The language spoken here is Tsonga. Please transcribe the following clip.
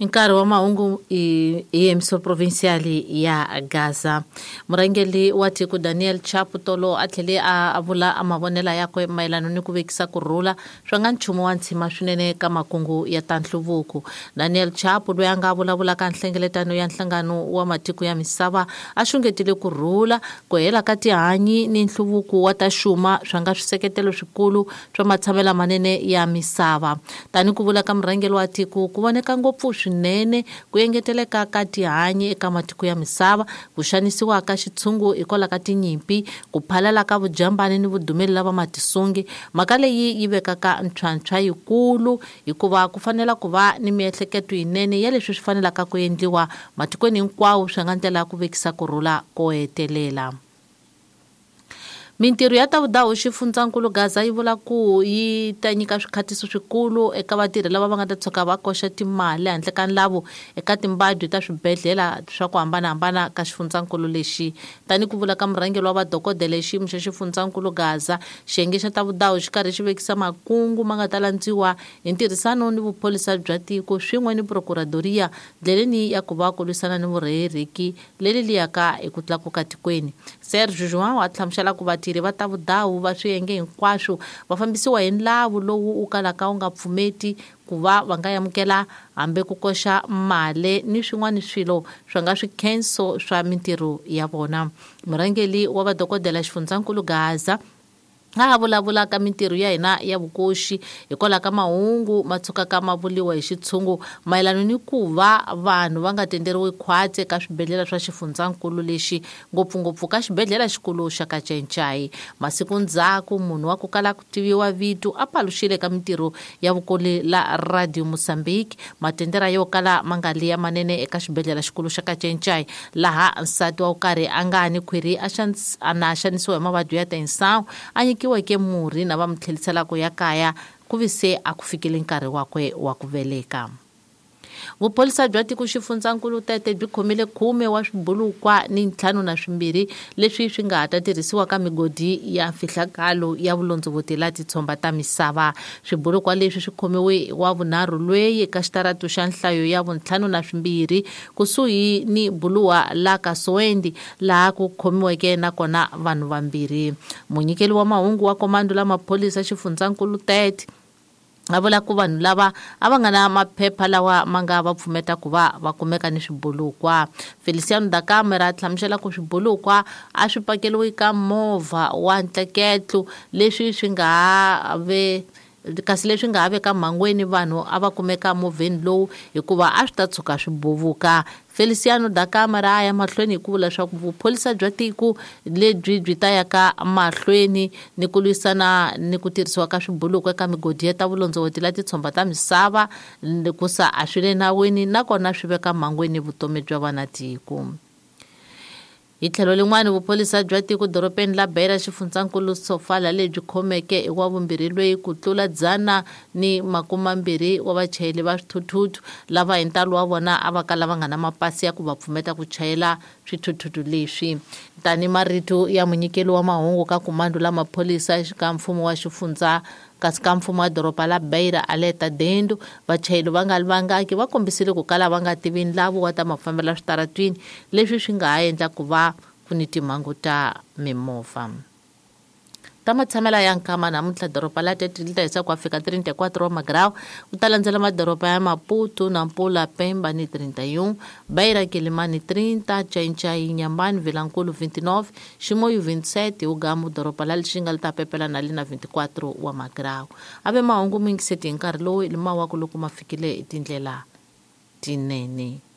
Nkarhi wa mahungu i emissor provincial ya Gaza. Murhangeri wa tiko Daniel Chapo tolo a tlhele a vula a mavonela yakwe mayelana ni ku vekisa ku rhula swa nga nchumu wa ntshima swinene ka makungu ya ta nhluvuko. Daniel Chapo loyi a nga vulavulaka nhlengeletano ya nhlangano wa matiko ya misava a xungetile ku rhula, ku hela ka tihanyi ni nhluvuko wa ta xuma swa nga swiseketelo swikulu swa matshamelo manene ya misava. Tani ku vula ka murhangeri wa tiko ku voneka ngopfu swinene ku engeteleka ka tihanyi eka matiko ya misava, ku xanisiwa ka xitshungu hikwalaho ka tinyimpi, ku phalala ka vujambani ni vudumeli lava matisungi. Mhaka leyi yi vekaka ntlhwantlhwa yikulu hikuva ku fanela ku va ni miehleketo yinene ya leswi swi fanelaka ku endliwa matikweni hinkwawo swi nga ndlela ya ku vekisa ku rhula ko hetelela. Mintirho ya ta vudahu xifundzankulu Gaza yi vula ku yi ta nyika swikhatiso swikulu eka vatirhi lava va nga ta tshuka va koxa timali handle ka nlavu eka timbadwi ta swibedhlele swa ku hambanahambana ka xifundzankulu lexi. Tani ku vula ka murhangeri wa vadokodela hi xiyimo xa xifundzankulu Gaza, xiyenge xa ta vudahu xi karhi xi vekisa makungu ma nga ta landziwa hi ntirhisano ni vuphorisa bya tiko swin'we ni prokuradoria ndleleni ya ku va ku lwisana ni vurheriki leri liyaka hi ku tlakuka tikweni. Serge João a hlamusela ku vatirhi va ta vudahu va swiyenge hinkwaswo va fambisiwa hi nlavu lowu wu kalaka wu nga pfumeti ku va va nga amukela hambi ku koxa mali ni swin'wana swilo swa nga swikhenso swa mintirho ya vona. Murhangeri wa vadokodela xifundzankulu Gaza a vulavula ka mintirho ya hina ya vukoxi hikwalaho ka mahungu ma tshukaka ma vuriwa hi xitshungu mayelana ni ku va vanhu va nga tenderiwi khwatsi eka swibedhlele swa xifundzankulu lexi, ngopfungopfu ka xibedhlele xikulu xa Kacencai. Masiku ndzhaku munhu wa ku kala ku tiviwa vito a paluxile ka mintirho ya vukoli la Radio Mozambique matendera yo kala ma nga li ya manene eka xibedhlele xikulu xa Kacencai, laha nsati wa ku karhi a nga ni khwiri a na xanisiwa hi mavabyi ya tensawu a nyikiweke murhi na va mu tlheliselaka ya kaya ku vi se a ku fikile nkarhi wakwe wa ku veleka. Vuphorisa bya tiko xifundzankulu Tete byi khomile 10 wa swibulukwa ni 52 leswi swi nga ha ta tirhisiwa ka migodi ya mfihlakalo ya vulondzovoti la titshomba ta misava. Swibulukwa leswi swi khomiwe wa vunharhu lweyi eka xitaratu xa nhlayo ya vu-52 kusuhi ni buluwa la Kasoendi laha ku khomiweke nakona vanhu vambirhi. Munyikeli wa mahungu wa komando la maphorisa xifundzankulu Tete a vula ku vanhu lava a va nga na maphepha lawa ma nga va pfumeta ku va va kumeka ni swibulukwa. Feliciano da Camera a hlamusela ku swibulukwa a swi pakeriwi ka movha wa ntleketlo leswi swi nga ha ve kasi leswi nga ha veka mhangweni vanhu a va kumeka movheni lowu hikuva a swi ta tshuka swi buvuka. Feliciano da Camera a ya mahlweni hi ku vula leswaku vuphorisa bya tiko lebyi byi ta ya ka mahlweni ni ku lwisana ni ku tirhisiwa ka swibuluko eka migodi ya ta vulondzovoti la titshomba ta misava ku sa a swi le nawini nakona swi veka mhangweni vutomi bya vana tiko. Hi tlhelo lin'wana vuphorisa bya tiko dorobeni la Beira xifundzankulu Sofala lebyi khomeke hi wa vumbirhi lweyi ku tlula 120 wa vachayeri va swithuthuthu lava hi ntalo wa vona a va kala va nga na mapasi ya ku va pfumeta ku chayela swithuthuthu leswi. Tani marito ya munyikeli wa mahungu ka komando la maphorisa ka mfumo wa xifundza kasi ka mfumo wa doroba la Beira Aleta Dendo, vachayeri va nga vangaki va kombisile ku kala va nga tivi nlavu wa ta mafambelo switaratwini leswi swi nga ha endla ku va ku ni timhangu ta mimovha. Ta matshamela ya nkama namuntlha doroba la Tete li ta hisa ku fika 34 wa magrawu, ku ta landzela madoroba ya Maputo, Nampula, Pemba ni 31, Beira, Quelimane 30, Chainchai, Inhambane, Vilankulu 29, Chimoio 27, Ugamu doroba la Lixinga li ta pepela na li na 24 wa magrawu. Ave mahungu mingiseti hi nkarhi lowu lima wa ku loko ma fikile hi tindlela tinene.